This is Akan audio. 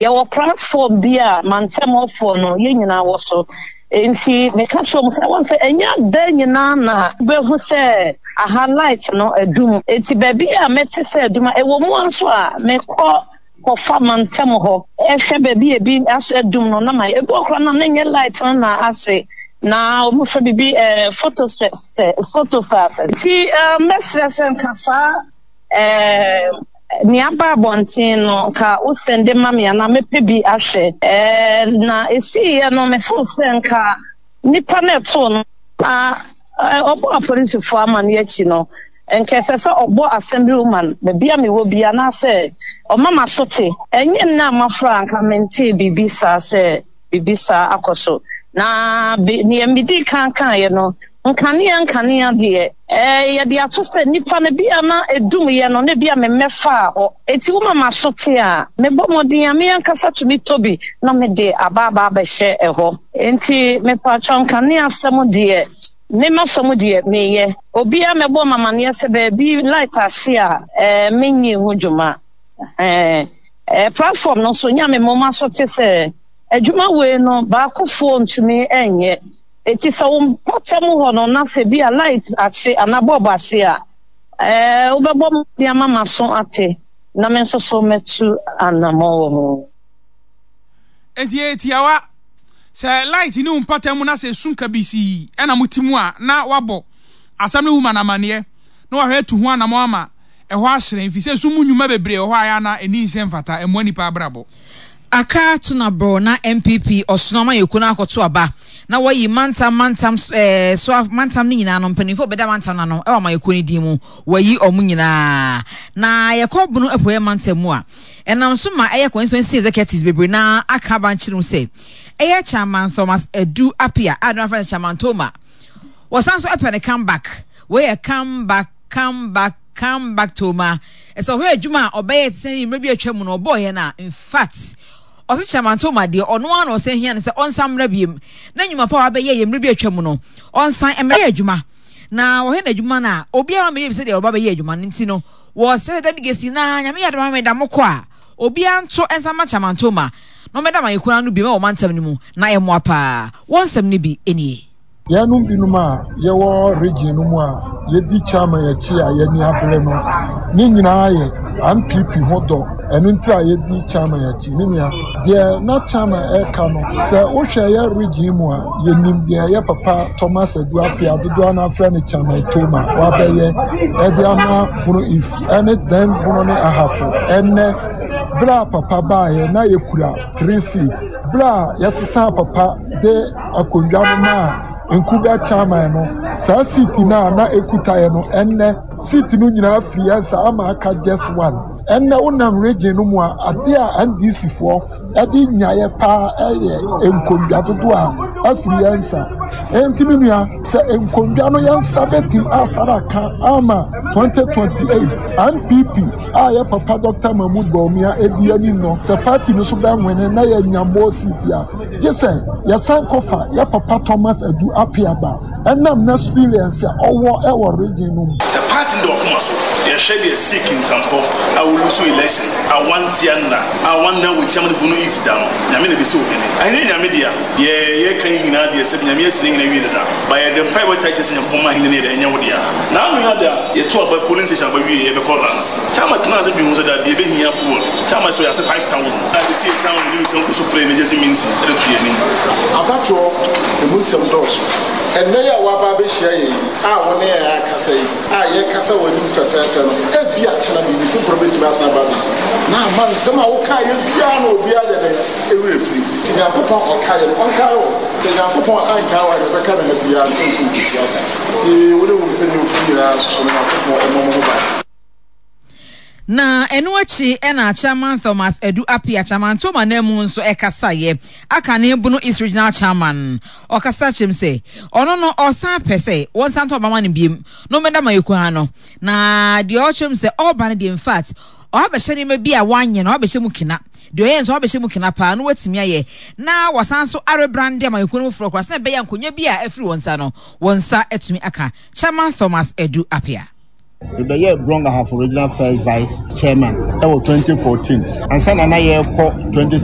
Yɛwɔ platform bi a mantam hɔfoɔ no yɛn nyinaa wɔ so. Enti meka kyerɛ wɔn sɛ wɔn sɛ ɛnyɛ da nyinaa na wobɛhu sɛ aha light no adum. Enti baabi a mɛte sɛ adum a ɛwɔ mu ara nso a mekɔ kɔfa mantam hɔ hwɛ baabi a ebi aso adum no na ma ebi wɔ koraa na na ɛnyɛ light no na ahye na wɔfrɛ biribi ɛɛ photostat photostat. Nti ɛɛ mɛsrɛ sɛ nka saa ɛɛ. Nea aba abɔnten no, nka wo sɛnde ma me anaa mɛpɛ bi ahwɛ. Ɛɛ, na esiiɛ no, me feel sɛ nka nipa no ɛtoo no na ɔbɔ apolisifoɔ amaneɛ akyi no, nka ɛsɛ sɛ ɔbɔ assembly woman baabi a mewɔ bi anaasɛ ɔma m'aso te. Ɛnyɛ nnɛ a mafra a nka mentee biribi saa sɛ biribi saa akɔ so. Na be, nea medii kan kaeɛ no, nkanea nkanea deɛ, ɛɛ, yɛde ato sɛ nnipa no, ebia na ɛdumyɛ no, na ebia memmɛfaa hɔ. Enti woma m'aso te a, mebɔ mmɔden a me ankasa tumi tɔ bi na mede aba aba abɛhyɛ ɛhɔ. Enti mepakyɛw, nkanea asɛm deɛ, me m'asɛm deɛ, meyɛ. Obiara mmɛbɔ me amaneɛ sɛ baabi light ahye a, ɛɛ, menyii ho dwuma. Ɛɛ, ɛɛ, platform no nso, nya me moma so te sɛ adwuma wei no, baakofoɔ ntumi nyɛ. Enti sɛ wo mpɔtam hɔ no na sɛ bi a light ahye anaa bulb ahye a, ɛɛ, wobɛbɔ mmɔden ama m'aso ate na me nso so mɛtu anammɔn wɔ ho. Enti ɛyɛ tiawa. Sɛ light ne wo mpɔtam na sɛ esum kabisii na mote mu a, na woabɔ asɛm no woman amanneɛ na wahwɛ atu ho anammɔn ama ɛhɔ ahyerɛn, efisɛ sum mu nnwuma bebree wɔ hɔ a ɛyɛ a na enni nhyɛ mfata, ɛmmoa nnipa abrabɔ. Aka Tunabor na NPP ɔsono amanyɔkuo no akɔto aba na wɔayi mantam mantam eh, so mantam no nyinaa no mpanimfoɔ bɛda mantam no ano wɔ amanyɔkuo no din mu wɔayi wɔn nyinaa na yɛkɔ Bono Apueɛ mantam mu a ɛnam so ma ɛyɛ constituency executives bebree na aka aba nkyerɛ mu sɛ ɛyɛ Chairman Thomas Adu Appiah a no afrɛ no Chairman Toma wɔsan so ɛpɛ no come back wei yɛ come back Come back, come back Toma. Ɛsɛ ɔhwɛ adwuma a ɔbɛyɛ te sɛ mmerɛ bi atwa mu no ɔbɔɔyɛ no a, in fact, ɔse Chairman Toma deɛ ɔno ara na ɔsan hia no sɛ ɔnsan mmra biem na nnwuma pa a wabɛyɛ yɛ mmerɛ bi atwa mu no ɔnsan mmɛyɛ adwuma na wɔhwɛ n'adwuma no a obiara mmɛyɛ bi sɛdeɛ ɔba bɛyɛ adwuma no nti no wɔsrɛ sɛ delegates nyinaa Nyame yɛ adom a meda mokɔ a obiara nto nsa mma Chairman Toma na ɔmmɛda amanyɔkuo no ano biom wɔ mantam no mu na ɛmmoa paa. Wɔn nsɛm no bi nie. Yɛnom binom a yɛwɔ region no mu a yɛdi chairman akyi a yɛani abere no, ne nyinaa yɛ NPP ho dɔ. Ɛno nti a yɛdi chairman akyi. Me nua, deɛ na chairman ɛreka no, sɛ wohwɛ yɛ region mu a, yɛnim deɛ yɛ papa Thomas Adu Appiah, dodoɔ no afrɛ no Chairman Toma, wabɛyɛ ɛde ama Bono East ɛne then Bono ne Ahafo. Ɛnnɛ, berɛ a papa baeɛ na yɛkura three seats. Berɛ a yɛsesaa papa de akonnwa no maa Nkuga chairman no, saa seat no a na ekuta yɛ no, ɛnnɛ seat no nyinaa firi yɛn nsa ama aka just one. Ɛnnɛ wonam region no mu a, adeɛ a NDC foɔ ɛde nyaeɛ paa ɛyɛ nkonnwa dodoɔ a afiri yɛn nsa. Enti me nua, sɛ nkonnwa no yɛn nsa bɛtim asara aka ama 2028 NPP a yɛ papa Dr. Mahmoud Bawumia edi anim no, sɛ party no so bɛnwene na yɛanya more seat a, Gye sɛ yɛsan kɔfa yɛ papa Thomas Adu Appiah ba ɛnam n'experience a ɔwɔ wɔ region no mu. Sɛ party no da wakoma so, yɛhwɛ deɛ Sikh ntampɔ a wo lusu election a wantia nna a wanna wo chairman Bono East da no, Nyame na ɛbɛsi wo hene. Ahennie Nyame dea, deɛ yɛka yi nyinaa deɛ sɛbi Nyame asi ne hene awie dada, but yɛde mpaebɔ taa kyerɛ sɛ Nyankopɔn mma ahennie no yɛ dɛ ɛnyɛ wo dea. Naanu yi ada yɛto aba polling station aba wie yɛbɛkɔ lands. Chairman tenaa ase dwen ho sɛ dabi yɛbɛhia fuel. Chairman sɛ ɔyɛ ase 5000 a ɛsɛ yɛ chairman ne return kɔ so pray na gyesi minti de to yɛn anim. Abatoɔ, emu nsɛm dɔɔso. Ɛnnɛ yi a woaba abɛhyia yɛn yi, a wo ne yɛn akasa yi, a yɛrekasa wɔ w'anim fɛfɛɛfɛ no, ebia kyena biribi foforɔ bɛtumi asan aba abɛsi, na ama nsɛm a wokaeɛ biara no obiara ayɛ dɛn? Werɛ afiri. Nti Nyankopɔn a ɔkaeɛ no, ɔnkae wo. Sɛ Nyankopɔn ankae wo a, deɛ ɔbɛka ne ha biara no, ɛnkɔ nkɔsi ada. Ee, wo ne wo mpanimfoɔ nyinaa nso so no, Nyankopɔn mmɔ mo ho ban. Na ɛno akyi na Chairman Thomas Adu Appiah, Chairman Toma ananmu nso kasaeɛ. Aka ne Bono East Regional Chairman. Ɔkasa kyerɛ mu sɛ, ɔno no ɔsan pɛ sɛ wɔnsan tɔ aba ma no biom na ɔmmɛda Mayoko ano. Na deɛ ɔkyerɛ mu sɛ ɔreba no deɛ infact ɔabɛhyɛ nneɛma bi a wanyɛ no ɔabɛhyɛ mu kena. Deɛ ɔyɛ nso ɔabɛhyɛ mu kena paa na watumi ayɛ na wasan nso arebrande Amayɔkuo no foforɔ koraa sɛdeɛ ɛbɛyɛ a nkonnwa bi a afiri wɔn nsa no wɔn nsa atumi aka. Chairman Thomas Adu Appiah. Mebɛyɛɛ Brong Ahafo Regional First Vice Chairman wɔ 2014 ansa na na yɛrekɔ 2016.